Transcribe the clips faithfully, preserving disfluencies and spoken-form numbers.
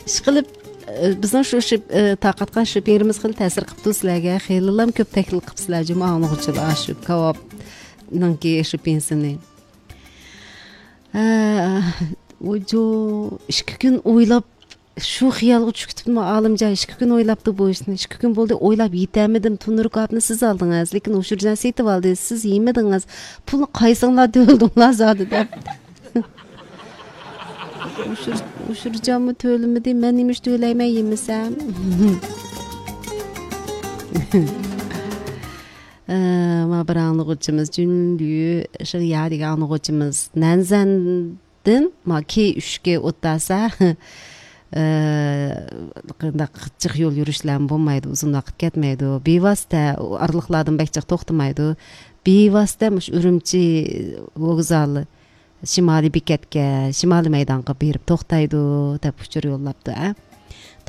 ئىشقىلىپ، ئى، بىزنىڭ شۇ شىپ-، ئى، تارقاتقان شىپىڭىمىز خېلى تەسىر قىپتۇ سىلەرگە. خېلىلام كۆپ تەكلىپ قىپسىلەر جۇمۇ ئاڭلىغۇچىلار شۇ كاۋاپنىڭكى شىپىڭسىنى. ھە، ئۇجۇ، ئىككى كۈن ئويلاپ، شۇ خىيالغا چۈشۈپ كېتىپتىمۇ ئالىمجان، ئىككى كۈن ئويلاپتۇ بۇ ئىشنى. ئىككى كۈن بولدى ئويلاپ يېتەلمىدىم. تونۇر كاۋاپنى سىز ئالدىڭىز، لېكىن ئۇشۇرجان سېتىۋالدى، سىز يېمىدىڭىز. پۇلنى قايسىڭلار تۆلىدىڭلار زادى دەپ. ئۇشۇر-، ئۇشۇرجانمۇ تۆلىمىدى، مەن نېمە ئۈچۈن تۆلەيمەن يېمىسەم؟ ئە، ما بىر ئاڭلىغۇچىمىز، جۈنلۈ شىڭيا دېگەن ئاڭلىغۇچىمىز، نەنزەندىن ما كېي ئۈچكە ئوتتاسا، ئە، قانداق جىق يول يۈرۈشلەرمۇ بولمايدۇ، ئۇزۇن ۋاقىت كەتمەيدۇ. بىۋاسىتە ئارىلىقلاردىن بەك جىق توختىمايدۇ. بىۋاسىتە مۇشۇ ئۈرۈمچى ۋوگزالى، شىمالىي بېكەتكە، شىمالىي مەيدانغا بېرىپ توختايدۇ، دەپ ئۇچۇر يوللاپتۇ، ھە.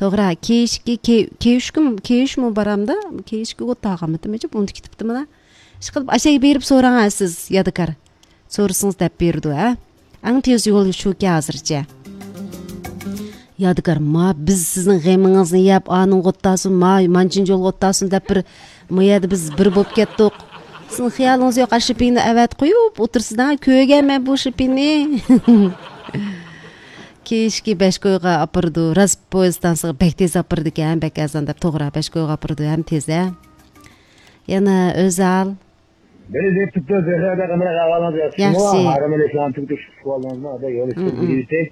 توغرا، كېيىشكى، كېي-، كېيىشكىمۇ، كېيىشمۇ بارامدا، كېيىشكى ئوت تاغامىتىمىچە ئۇنتۇپ كېتىپتىمىلا. ئىشقىلىپ، ئاشەگە بېرىپ سوراڭ، ھە، سىز، يادىكار. سورىسىڭىز دەپ بېرىدۇ، ھە. ئەڭ تېز يول شۇكى ھازىرچە. يادىكار، ما بىز سىزنىڭ غېمىڭىزنى يەپ، ئانىڭغا ئوت تاسۇن، ما مانچىنچى يولغا ئوت تاسۇن دەپ بىر، ما يەردە بىز بىر بولۇپ كەتتۇق. سىزنىڭ خىيالىڭىز يوق، ئاشۇ شىپىنى ئەۋەتىپ قويۇپ ئولتۇرسىز، ھە، كۆرگەن مەن بۇ شىپىنى. كېيىشكى بەشكويغا ئاپىرىدۇ، راست پويىز ئىستانسىغا بەك تېز ئاپىرىدىكەن، بەك ئەرزان دەپ توغرا بەشكويغا ئاپىرىدۇ، ھەم تېز، ھە. يەنە ئۆزال. بىر دەپ تۇتۇپ، زەھرە ئەدە قانداق ئەھۋالىڭىز ياخشىمۇ؟ ياخشى. ھارام ئېلىشقان تۈگىتىش ئىشقا ئالدىڭىزمۇ؟ ئەدە يول ئىشلىرى مم، مم. بېجىرىلدى.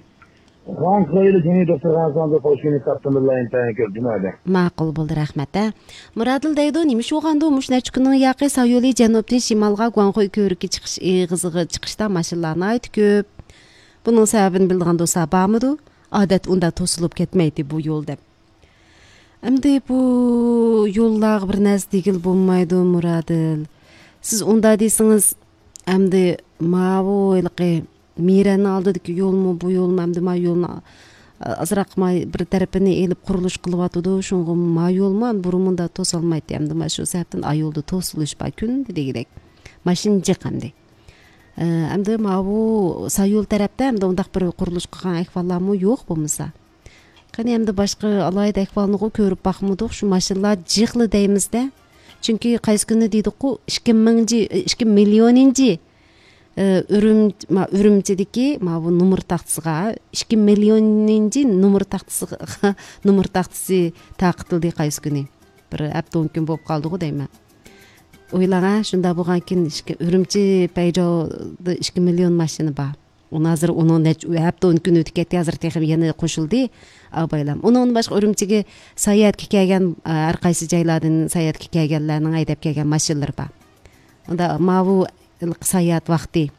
خەنخۇيلى جۇڭيى دوختۇرخانىسىنىڭ خوش كۈنى تاپتىمىزلا ئىنتايىن كۆپ جۇمۇ ئەدە. ماقۇل بولدى، رەھمەت، ھە. مۇرادىل دەيدۇ، نېمە ئىش بولغاندۇ؟ مۇشۇ نەچچە كۈننىڭ ياقى سايولى جەنۇبتىن شىمالغا گۇاڭخۇي كۆۋرۈكى چىقىش ئېغىزىغا چىقىشتا ماشىنىلار ناھايىتى كۆپ. بۇنىڭ سەۋەبىنى بىلىدىغان دوستلار بارمىدۇ؟ ئادەتتە ئۇنداق توسۇلۇپ كەتمەيتتى بۇ يول دەپ. ئەمدى بۇ يوللارغا بىر نەرسە دېگىلى بولمايدۇ، مۇرادىل. سىز ئۇنداق دېسىڭىز، ئەمدى ماۋۇ ھېلىقى مىرەننىڭ ئالدىدىكى يولمۇ، بۇ يولمۇ، ئەمدى ما يولنى ئازراق ما بىر تەرىپىنى ئېلىپ قۇرۇلۇش قىلىۋاتىدۇ. شۇڭغا ما يولمۇ بۇرۇن مۇنداق توسالمايتتى. ئەمدى ما شۇ سەۋەبتىن ئا يولدا توسۇلۇش بار، كۈندە دېگۈدەك. ماشىنا جىق ئەمدى. ئە، ئەمدى ماۋۇ سايول تەرەپتە ئەمدى ئۇنداق بىر قۇرۇلۇش قىلغان ئەھۋاللارمۇ يوق بولمىسا. قېنى ئەمدى باشقا ئالاھىدە ئەھۋالنىغۇ كۆرۈپ باقمىدۇق، شۇ ماشىنىلار جىقلا دەيمىزدە. چۈنكى قايسى كۈنى دېدۇققۇ، ئىككى مىڭىنچى، ئىككى مىليونىنچى، ئە، ئۈرۈم-، ما-، ئۈرۈمچىدىكى ماۋۇ نومۇر تاختىسىغا، ئىككى مىليونىنچى نومۇر تاختىسىغا، نومۇر تاختىسى تارقىتىلدى قايسى كۈنى. بىر ھەپتە ئون كۈن بولۇپ قالدىغۇ دەيمەن. ئويلاڭا، شۇنداق بولغانكىن ئىككى، ئۈرۈمچى پەيجاۋدا ئىككى مىليون ماشىنا بار. ئۇنى ھازىر ئۇنىڭ نەچچە ھەپتە ئون كۈن ئۆتۈپ كەتتى، ھازىر تېخى يەنە قوشۇلدى ئابايلام. ئۇنىڭدىن باشقا ئۈرۈمچىگە ساياھەتكە كەلگەن، ھەر قايسى جايلاردىن ساياھەتكە كەلگەنلەرنىڭ ھەيدەپ كەلگەن ماشىنىلىرى بار. ئۇندا ماۋۇ ساياھەت ۋاقتى.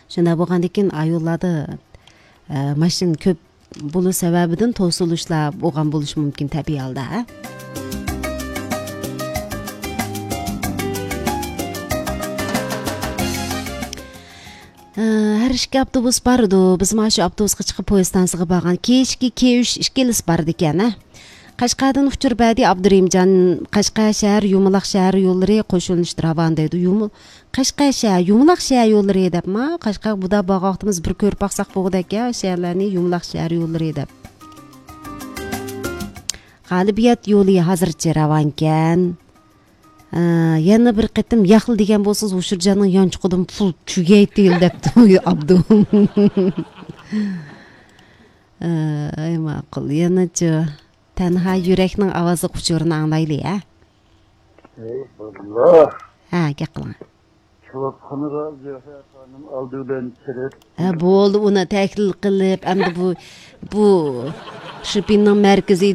شۇنداق بولغاندىكىن ئايوللاردا، ئە، ماشىنا كۆپ بولۇش سەۋەبىدىن توسۇلۇشلار بولغان بولۇشى مۇمكىن تەبىئىي ھالدا، ھە؟ ئە، ھەر ئىككى ئاپتوبۇس بارىدۇ. بىز مانا شۇ ئاپتوبۇسقا چىقىپ پويىز ستانسىغا بارغان. كېيىشكى كېيىش ئىككىلىسى بارىدىكەن، ھە؟ قەشقەردىن ئۇچۇر بەردى ئابدۇرېھىمجان. قەشقەر شەھەر يۇمىلاق شەھەر يوللىرى قوشۇلۇشتا راۋان دەيدۇ. يۇمۇ-، قەشقەر شەھەر، يۇمىلاق شەھەر يوللىرى دەپما، قەشقەرگە بۇدا بارغان ۋاقتىمىز بىر كۆرۈپ باقساق بولغۇدەك يا، شەھەرلەرنى يۇمىلاق شەھەر يوللىرى دەپ. غالىبىيەت يولى ھازىرچە راۋانكەن. ئە، يەنە بىر قېتىم ياقلا دېگەن بولسىڭىز، ھوشۇرجاننىڭ يانچۇقىدىن پۇل تۈگەيتىل دەپتۇ ئابدۇ. ئە، ئەي ماقۇل، يەنىچۇ؟ تەنھا يۈرەكنىڭ ئاۋازلىق ئۇچۇرىنى ئاڭلايلى، ھە؟ ئەي باللا. ھە، گەپ قىلىڭ. كۇتۇپخانىغا زۆھرە خانىم ئالدى بىلەن كىرىپ. ھە، بولدى، ئۇنى تەھلىل قىلىپ، ئەمدى بۇ، بۇ شىپىننىڭ مەركىزى